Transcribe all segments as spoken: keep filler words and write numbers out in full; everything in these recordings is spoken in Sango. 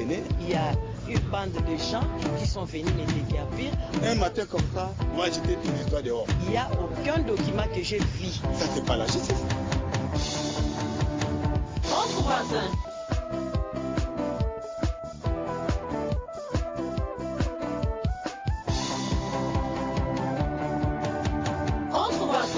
Il y a une bande de gens qui sont venus me déguerpir. Un matin comme ça, moi, j'étais tout le temps dehors. Il y a aucun document que j'ai vu. Ça, c'est pas la justice. Entre voisins. Entre voisins.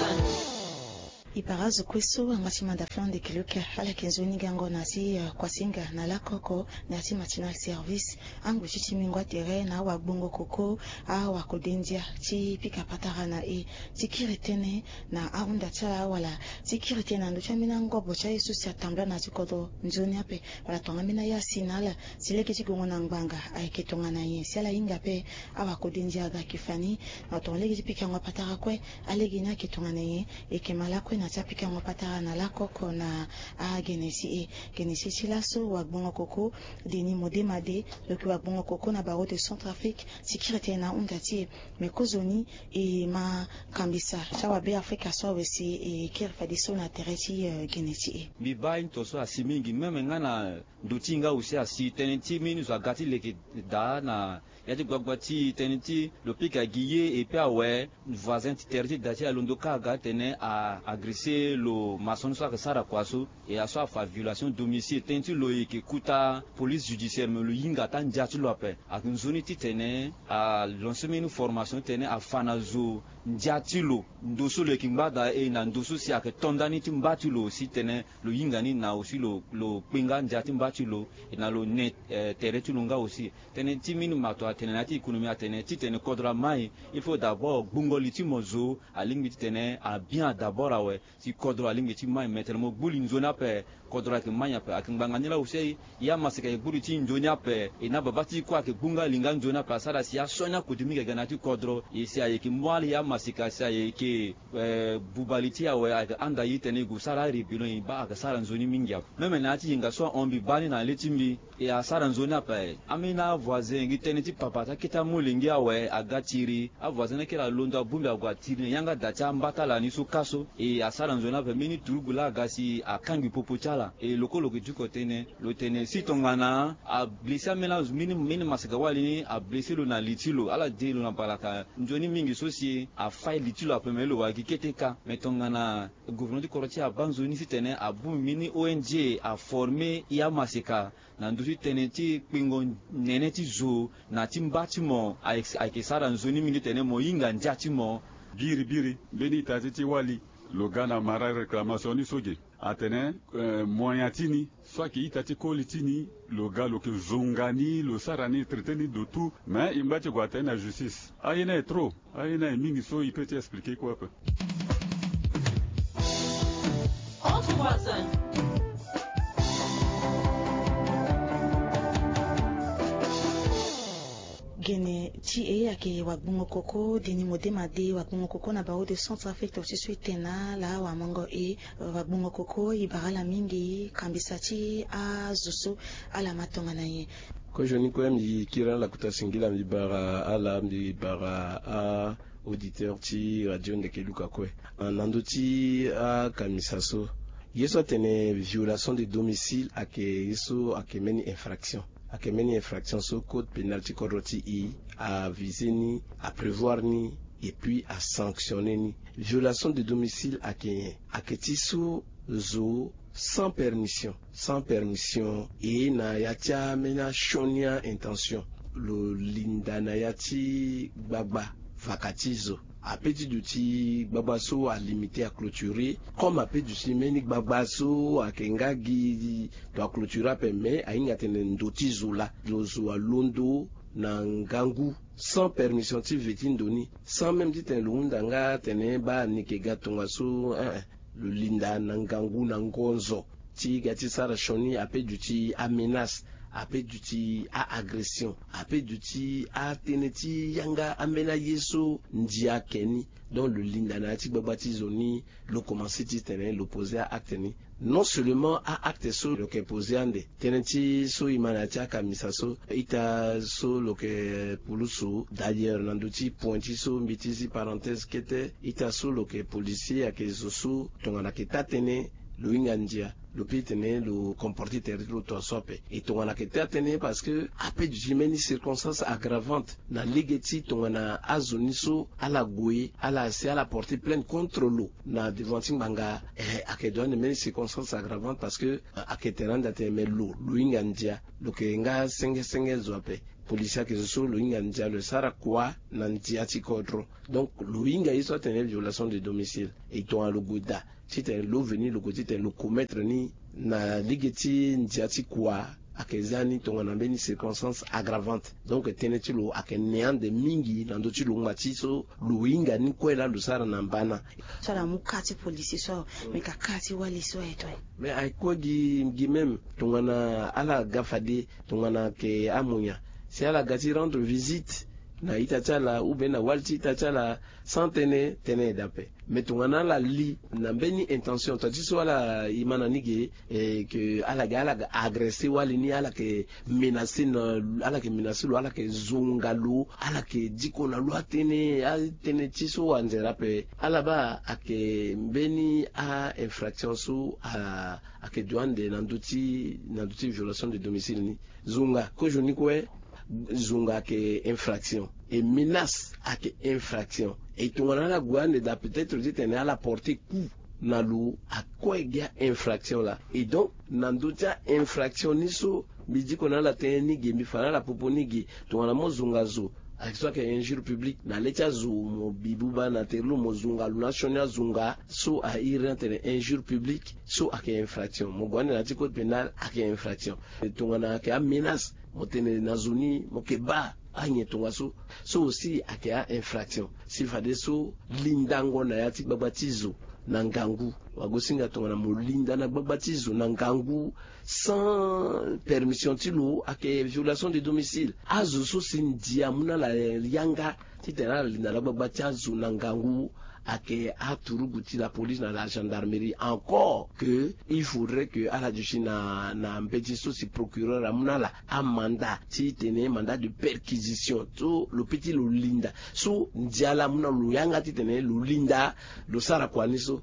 E bara azo kue so angba ti manda plan de kiloke ala yeke nzoni gango na ya ti kuasinga na lakoko na ya ti matinal service. Angbe ti ti mingo atere na awagbongo koko, awakode ndia ti pika patara na e ti kiri tënë na ahunda ti ala wala ti kiri tënë na ndö ti ambeni angobo ti aye so si atambula na ya ti kodro nzoni ape wala tongana ambeni aye asi na ala si lege ti gongo na ngbanga ayeke tongana nyen si ala hinga ape. Awakode ndia aga yeke fa ni na tongana lege ti pikango patara kue. Alege ni ayeke tongana nyen? E yeke ma lakue na ya ti apikango patara na lakoko na agene ti e. Gene ti e ti laso wagbongo koko Denis Modema de lo yeke wagbongo koko na barreau de Centrafrique ti kiri tënë na ahunda ti e. Me kozoni e ma kambisa ti awabe Afrika so awe si e kiri fadeso na tere ti gene ti e. Mbi baa aye ni tongaso asi mingi même nga na ndo ti e nga aussi asi tënë ti mbeni zo aga ti leke daa na ya ti gbagba ti e tënë ti lo pika gi ye et puis awe voisin ti tere ti da ti e alondo kâ aga atene a agressé lo maçon ni so ayeke sara kua so. E aso afa violation domicile tënë ti lo e yeke kuta police judiciaire me lo hinga ata ndia ti lo ape. Ayeke nzoni titene a lancer mbeni formation titene afa na zo ndia ti lo ndo so lo yeke ngba daa e na ndo so si ayeke to ndani ti mba ti lo aussi titene lo hinga ni na aussi lo lo kpe nga ndia ti mba ti lo e na lo ne tere ti lo nga aussi. Tënë ti mbeni mato atene na ya ti économie atene titene kodro amai il faut d'abord gbungo li ti mo zo alingbi titene abien d'abord awe. Si kodro alingbi ti mai me tene mo gbu li nzoni ape kodro ayeke mai ape ayeke ngbanga ni laa aussi. Ya maseka e gbu li ti nzoni ape e na babâ ti e kue ayeke gbu nga li nga nzoni ape asara si asioni akode mingi aga na ya ti kodro e si ayeke mu ala ya maseka si ayeke buba li ti e awe ayeke handa e tene e gue sara arébellion e baa ayeke sara nzoni mingi ape. Même na ya ti yenga so ahon mbi baa ni na le ti mbi e asara nzoni ape. Ambeni avoisin gi tënë ti papa ti akete amolenge awe aga tiri avoisin ni akiri alondo abongbi ague atiri na yanga da ti amba ti ala ni so kâ so e asara nzoni ape mbeni turugu laa aga si akangbi popo ti ala. E lo kue lo yeke duko tënë lo tene si tongana ablessé ambeni azo mbeni mbeni maseka wali ni ablessé lo na li ti lo ala de lo na balaka nzoni mingi so si afai li ti lo ape me lo wara gi kete kâ. Me tongana gouvernement ti kodro ti e abaa nzoni titene abongbi mbeni O N G aformer e amaseka na ndö ti tënë ti kpengo nene ti zo na ti mba ti mo ayeke sara nzoni mingi titene mo hinga ndia ti mo. Biribiri mbeni ita ti ti wali lo ga na mara réclamation ni so ge atene mo nyen ti ni so ayeke ita ti koli ti ni lo ga lo yeke zonga ni lo sara ni traité ni de tout. Mais e ngba ti gue atene na justice aye ni aye trop. Aye ni aye mingi so e peut ti expliquer kue ape. Gene ti e ayeke wagbongo-koko Denis Modema de wagbongo-koko na barreau de Centrafrique. Tongaso e tene na ala wamongo e wagbongo-koko e bara ala mingi kambisa ti azo so ala ma tongana nyen? Kozoni kue mbi kiri ala kota singila mbi bara ala mbi bara a auditeur ti radio ndeke luka kue. Na ndö ti akambisa so ye so atene violation de domicile ayeke ye so ayeke mbeni infraction. Ayeke mbeni infraction so code pénal ti kodro ti e avise ni aprévoir ni et puis asanctionner ni. Violation de domicile ayeke nyen? Ayeke ti so zo sans permission sans permission e na ya ti ambeni asioni a-intention lo linda na ya ti gbagba vaka ti zo. Ape ti duti gbagba so alimite aclôture comme ape duti mbeni gbagba so ayeke nga gi to aclôture ape me ahinga tene ndo ti zo laa lo zo alondo na ngangu sans permission ti ve ti ndo ni sans même titene lo hunda nga tene baa ni yeke ga tongaso. Lo linda na ngangu na ngonzo ti ga ti sara sioni ape duti amenace ape duti a-agression ape duti atënë ti yanga ambeni aye so ndia ayeke ni. Donc lo linda na ya ti gbagba ti zo ni lo commencé titene lo poser a-acte ni. Non seulement a-acte so lo yeke poser ande tënë ti so e ma na ya ti akambisa so ita so lo yeke pulusu d'ailleurs na ndö ti point ti so mbi ti zi parenthèse kete ita so lo yeke policier ayeke zo so tongana ayeke taa-tënë lo hinga ndia. lo pe tene lo comporter tere ti lo tongaso ape. E tongana ayeke taa tënë parce que ape duti mbeni circonstance aggravante na lege ti tongana azo ni so ala gue ala si ala porter plainte contre lo na devant ti ngbanga. Eh, ayeke dua ande mbeni circonstance aggravante parce que ayeke tere ande atene me lo lo hinga ndia, lo yeke nga senge senge zo ape. Policier ayeke zo so lo hinga ndia lo sara kua na ndia ti kodro. Donc lo hinga ye so atene violation de domicile. E tongana lo gue daa titene lo veni lo gue titene lo commettre ni na lege ti ndia ti kua, ayeke za ni tongana mbeni circonstance aggravante. Donc tënë ti lo ayeke ne ande mingi na ndö ti lo ngba ti so lo hinga ni kue laa lo sara na mbana. So ala mu ka ti policier so awe, me ka ka ti wali so aye to aye. Mais aye kue gi gi même tongana ala ga fade tongana ayeke amonya si ala ga ti rendre visite na ita ti ala ou bien na wali ti ita ti ala sans tënë, tënë e daa ape. Mais tongana ala li na mbeni intention tongana ti so ala e ma na ni ge, eh, ke ala ga ala ga agresser wali ni, ala yeke menacer na, ala yeke menacer lo, ala yeke zonga lo, ala yeke diko na lo atënë, atënë ti so anzere ape. Ala baa ayeke mbeni a-infraction so a ayeke dua ande na ndö ti na ndö ti violation de domicile ni. Zonga kozo ni kue, zonga ayeke infraction. E menace ayeke infraction. E tongana ala gue ande daa peut-être titene ala porter coup na lo, akue gi a-infraction laa. Et donc na ndö ti a-infraction ni so mbi diko na ala tënë ni ge, mbi fa na ala popo ni ge, tongana mo zonga zo ayeke so ayeke injure publique na le ti azo mo bi buba na tere lo mo zonga lo na asioni azonga so a iri ni atene injure publique so ayeke infraction. Mo gue ande na ti code pénal ayeke infraction. Tongana ayeke amenace mo tene na zo ni mo yeke baa anyen tongaso, so aussi ayeke a-infraction. Si fadeso lindango na ya ti gbagba ti zo na ngangu. Wagosinga tongana mo linda na gbagba ti zo na ngangu sans permission ti lo ayeke violation de domicile. Azo so si ndia amu na ala yanga titene ala linda na gbagba ti azo na ngangu ayeke aturugu ti la police na la gendarmerie. Encore que il faudrait que ala duti na na mbeti so si procureur amu na ala amanda titene mandat de perquisition so lo pe ti lo linda. So ndia laa amu na lo yanga titene lo linda lo sara kua ni so.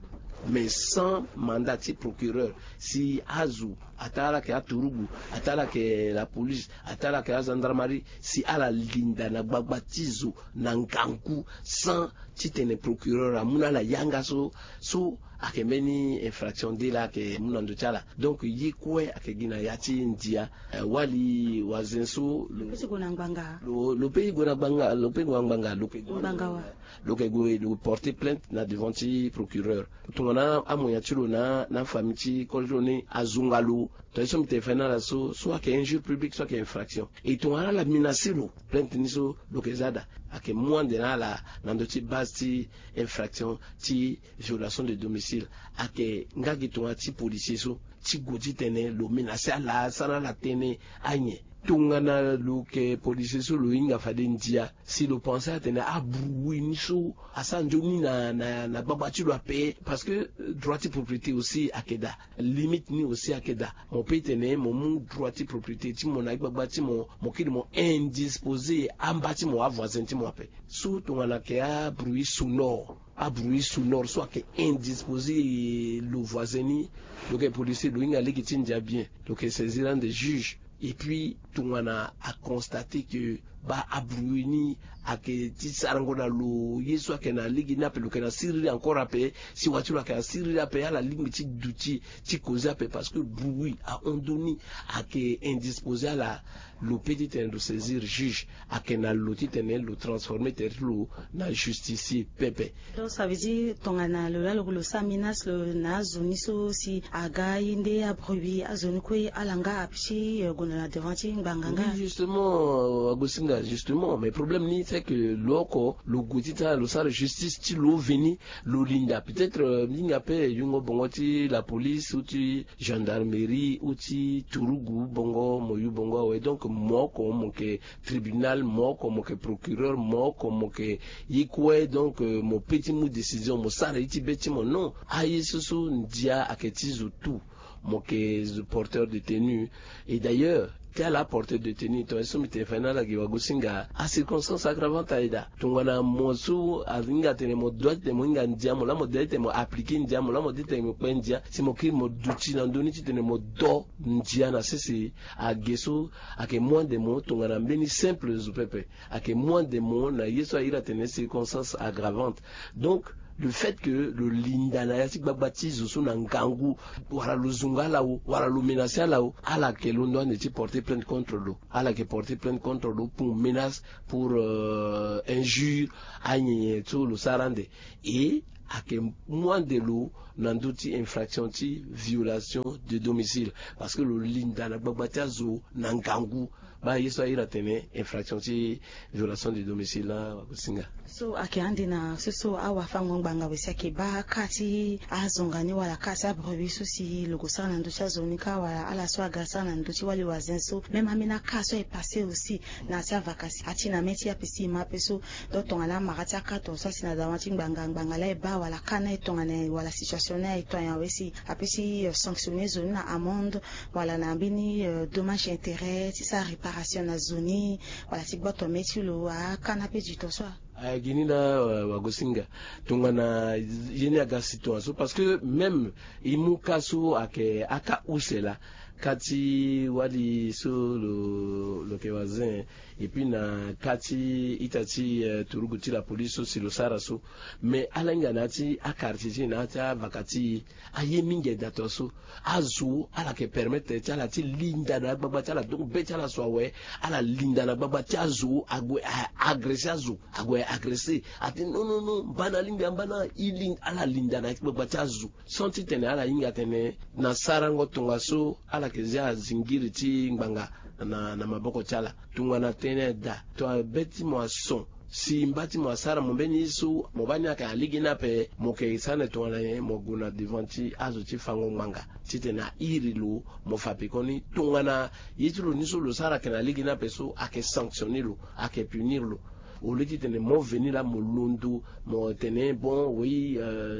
Mais sans mandat ti procureur si azo ataa ala yeke aturugu, ataa ala yeke la police, ataa ala yeke agendarmerie, si ala linda na gbagba ti zo na ngangu sans titene procureur amu na ala yanga so, so ayeke mbeni infraction de laa ayeke mu na ndö ti ala. Donc ye kue ayeke gi na ya ti ndia. Eh, wali wazen so lo pe ti gue na ngbanga. Lo lo pe gue na ngbanga, lo pe gue na ngbanga, lo yeke gue na ngbanga wa. Lo yeke gue lo porter plainte na devant ti procureur. Tongana amoyen ti lo na na famille ti koli ti lo ni azonga lo, tongana ye so mbi tene fa na ala so, so ayeke injure publique, so ayeke infraction. E tongana ala menacer lo, plainte ni so lo yeke za daa, ayeke mu ande na ala na ndö ti base ti infraction ti violation de domicile. Ayeke nga gi tongana ti policier so ti gue titene lo menacer ala, sara na ala tënë anyen. Tongana lo yeke policier so lo hinga fade ndia, si lo pense atene abruit ni so asara nzoni na na na gbagba ti lo ape. Parce que droit ti propriété aussi ayeke daa, limite ni aussi ayeke daa. Mo pe tene mo mu droit ti propriété ti mo na gbagba ti mo, mo kiri mo indisposer amba ti mo, avoisin ti mo ape. So tongana ayeke abruit sonore, abruit sonore so ayeke indisposer lo voisin ni, lo yeke policier, lo hinga lege ti ndia bien, lo yeke saisir ande juge. Et puis tongana aconstater que baa abruit ni ayeke ti sarango na lo, ye so ayeke na lege ni ape lo yeke na siriri encore ape, siwa ti lo ayeke na siriri ape, ala lingbi ti duti ti causer ape parce que bruit ahon ndoni ayeke indisposer ala. Lo pe titene lo saisir juge, ayeke na lo titene lo transformer tere ti lo na justicier pepe. Donc ça veut dire tongana lo laa lo sara menace lo na azo ni so si aga aye nde abruit, azo ni kue ala nga ape ti gue na devant ti ngbanga nga. Oui, justement, agosinga, justement, mais problème ni c'est que lo oko lo gue ti tara lo sara justice ti lo veni, lo linda peut-être, euh, linga pe yungo bongo ti la police ou ti gendarmerie ou ti turugu bongo, mo yu bongo awe. Donc mo oko mo yeke tribunal, mo oko mo yeke procureur, mo oko mo yeke ye kue. Donc, euh, mo pe ti mu décision, mo sara ye ti be ti mo. Non, aye so so ndia ayeke ti zo tout. Mo yeke zo porteur de tenue. Et d'ailleurs Ti ala aporte détenu tongana so mbi tene fa ni ala gi wagosinga acirconstance aggravante aye daa. Tongana mo so ahinga atene mo doit ti tene mo hinga ndia mo laa mo doit ti tene mo appliquer ndia mo laa mo doit ti tene mo kpe ndia si mo kiri mo duti na ndö ni ti tene mo do ndia na sese. Age so ayeke moins de mo tongana mbeni simple zo pepe. Ayeke moins de mo na ye so a iri atene circonstance aggravante. Donc le fait que lo linda na ya ti gbagba ti zo so na ngangu, wala lo zunga ala o wala lo menace ala o, ala yeke londo ande ti porter plainte contre lo. Ala yeke porter plainte contre lo pour menace, pour injure, anyenye so lo sara ande. Et ayeke mu ande lo na ndö ti infraction ti violation de domicile, parce que lo linda na gbagba ti azo na ngangu. Baa ye so a iri atene infraction ti violation de domicile na wagosinga. So ayeke ande na so so awafango ngbanga wese ayeke baa ka ti azonga ni wala ka ti abrebi so si lo gue sara na ndö ti azo ni ka wala ala so aga sara na ndö ti wali wazin so même ambeni aka so aye passe aussi na ya ti avaka si ati na mê ti ape si e ma ape so. Donc tongana amara ti aka tonga so asi na dawa ti ngbanga ngbanga laa e baa wala ka ni aye tongana wala situation ni aye to ayen awe si ape ti sanctionner zo ni na amende wala na mbeni dommage intérêt ti sara réparation na zo ni wala ti gboto mê ti lo aka ni ape du temps so. Aye gi ni laa wagosinga. Tongana ye ni aga si tonga so parce que même e mu ka so ayeke aka use laa, ka ti wali so lo lo yeke wazin. Et puis na ka ti ita ti turugu ti la police so si lo sara so. Mais ala hinga na ya ti aquartier ti e na ya ti avaka ti e. Aye mingi aye daa tonga so. Azo ala yeke permettre ti ala ti linda na agbagba ti ala donc be ti ala so awe. Ala linda na gbagba ti azo ague a agresse azo. Ague agresse ate non non non mbana alingbi ambana. Ala linda na gbagba ti azo sans titene ala hinga atene na sarango tongaso ala yeke zia zingiri ti ngbanga na maboko ti ala. Tongana tënë daa tongana be ti mo ason si mba ti mo asara mo mbeni ye so mo baa ni ayeke na lege ni ape. Mo yeke sara na tongana nyen? Mo gue na devant ti azo ti fango ngbanga titene a iri lo. Mo fa pekoni tongana ye ti lo ni so lo sara ayeke na lege ni ape so ayeke sanctionner lo, ayeke punir lo. Au lieu titene mo veni laa mo londo mo tene bon oui,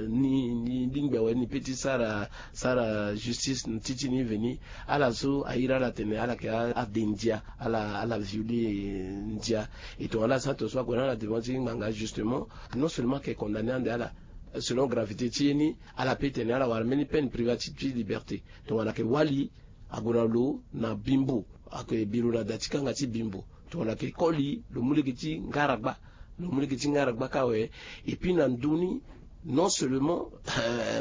ni ni lingbi awe ni pe ti sara sara justice ti ti ni veni. Ala so a iri ala tene ala yeke ade ndia. Ala ala violer ndia. E tongana ala sara tongaso ague na ala devant ti ngbanga justement non seulement ayeke condamner ande ala selon gravité ti ye ni. Ala pe tene ala wara mbeni peine privative ti liberté. Tongana ayeke wali ague na lo na bimbo. Ayeke bi lo na da ti kanga ti bimbo. Tongana ayeke koli lo mu lege ti ngaragba. Lo mu lege ti ngaragba ka awe. Et puis na ndö ni non seulement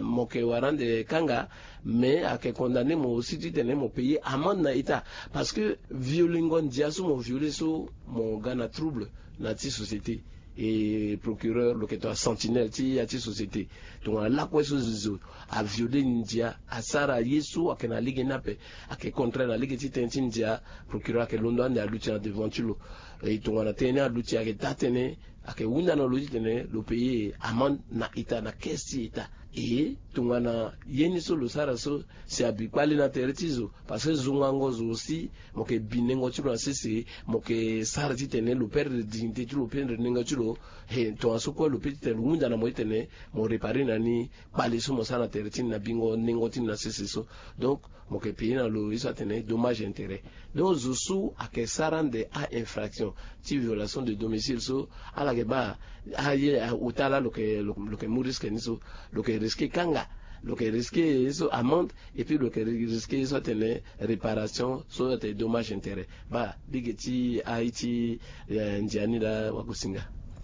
mo yeke wara ande kanga mais ayeke condamner mo aussi titene mo payer amende na état. Parce que violengo ndia so mo violer so mo ga na trouble na ti société. Et procureur lo yeke to asentinelle ti ya ti société. Tongana lakue so zo avioler ndia asara ye so ayeke na lege ni ape ayeke contraire na lege ti tënë ti ndia. Procureur ayeke londo ande aluti na devant ti lo. E tongana tënë ni aluti ayeke daa tënë ayeke hunda na lo titene lo payer amende na état na caisse ti état. E tongana ye ni so lo sara so si abi kpale na tere ti zo. Parce que zongango zo aussi mo yeke bi nengo ti lo na sese. Mo yeke sara titene lo perdre dignité ti lo perdre nengo ti lo. He tongaso kue lo pe titene lo hunda na mo titene mo réparer na ni kpale so mo sara na tere ti ni na bingo nengo ti ni na sese so. Donc mo yeke payer na lo ye so atene dommage intérêt. Donc zo so ayeke sara ande a-infraction ti violation de domicile so ala yeke baa aye ota laa lo yeke lo yeke mu risque ni so. Lo yeke risquer kanga lo yeke risquer ye so amende. Et puis lo yeke risquer ye so atene réparation so atene dommage intérêt. Baa lege ti aye ti ndia ni laa wagosinga.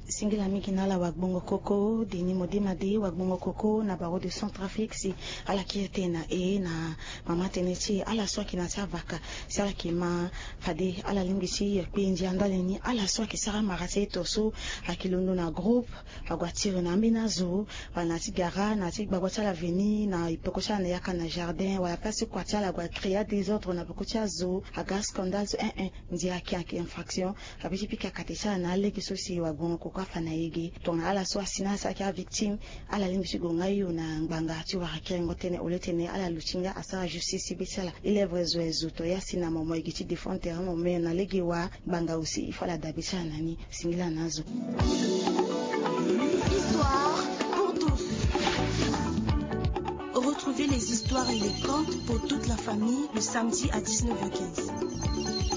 Singila mingi na ala wagbongo koko deni modema de wagbongo koko na baro de centrafrique si ala kiri tënë na e na mama tënë ti e ala so ayeke na ya ti avaka si ala yeke ma fade ala lingbi ti kpe ndia ndali ni ala so ayeke sara mara ti e to so ayeke londo na groupe ague atiri na ambeni azo wala na ya ti gara na ya ti gbagba ti ala veni na peko ti ala na yaka na jardin wala place ti kua ti ala ague acréer adésordre na peko ti azo aga scandale so eh eh. Ndia ayeke ayeke infraction. Abi ti pika kate ti ala na alege so si wagbongo koko afa na e ge tongana ala so asi na ala si ayeke avictime. Ala lingbi ti gue nga hio na ngbanga ti wara kiringo tënë au lieu tene ala luti nga asara justice ti be ti ala. E lève zo aye zo to ya si na mo mo e gi ti défendre terrain mo me na lege wa ngbanga aussi il faut ala dabe ti ala na ni. Singila na azo. Histoire pour tous. Retrouvez les histoires et les contes pour toute la famille le samedi à dix-neuf heures quinze.